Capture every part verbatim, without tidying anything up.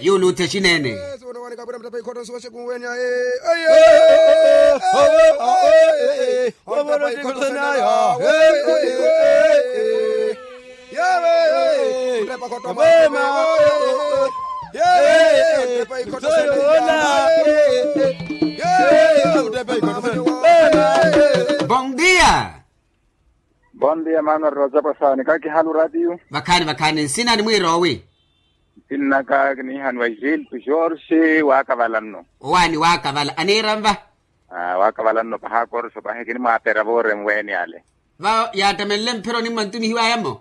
Yuuluuthe xineene. Bon dia. Bon dia manuel rosa pasani kakihalu ratiyu. Vakhaani vakhaani nsina ni mwiiroowi? Nsinnaka kiniihaniwa gilto jorge waakavala nno. Owaani waakavala aniira nva? Waakavala nno pahi akorso pahi kinimwaapera voorenweeni ale. Va yaattamenle mphironi mmantumihiwaya mmo.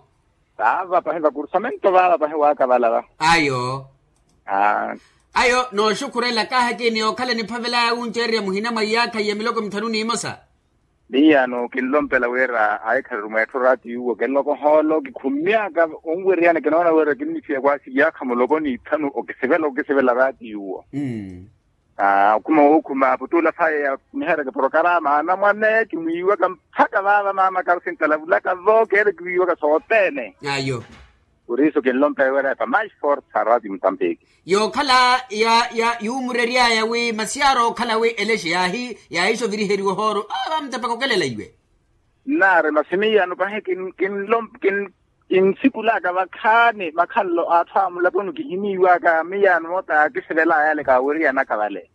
Vaava pahi vakursamento vaava pahi waakavala va. Ayo. Ayo nooxukhurela kaahaki ni yookhala niphavelaya wunceererya muhina mwa iyaakha iya miloko mithanu n'imosa. Miyaano kinlompela wira ahikhaliru mweettho oraati yuwo kinloko ohoolo kikhumyaka onweriyana kinoona wira kinniphiya kwaasi iyaakha muloko n'ithanu okisivela okisivela oraati yuwo. Okhuma wookhuma aputuula saaya yakumiherya kiporokarama anamwane kimwiiwaka mpakha vaava maamaka arusintalavulaka vo keere kiwiiwaka sothene. Ayo. Puriiso kinlompeya wira epa mais forte sa radio mutampiki. Yookhala ya ya yuumureryaya wi masi yaarookhala wi elexe yaahi yaahixa oviriheriwa ohooro. Vaamutepaka okelela iwe. Nnaari masi miyaano pahi kinlompe kinsikulaka vakhaani makhalelo a atthu a mulaponi kihiniiwaka miyaano moota yaakisivelaya yale kaaweriyanaka vale.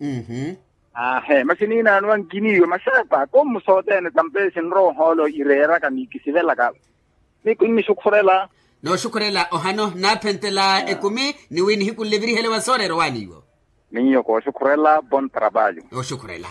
Aahe masi niinaanowa nkiniiwe masi apa komu sothene tampeesi nrowa ohoolo ireeraka ni kisivelaka. Ni kinnixukhurela. Nooxukhurela ohano nnaaphentela ekumi ni wi nihikunlevirihele wa sooreera owaani iwo. Miyo kooxukhurela bon trabalho. Nooxukhurela.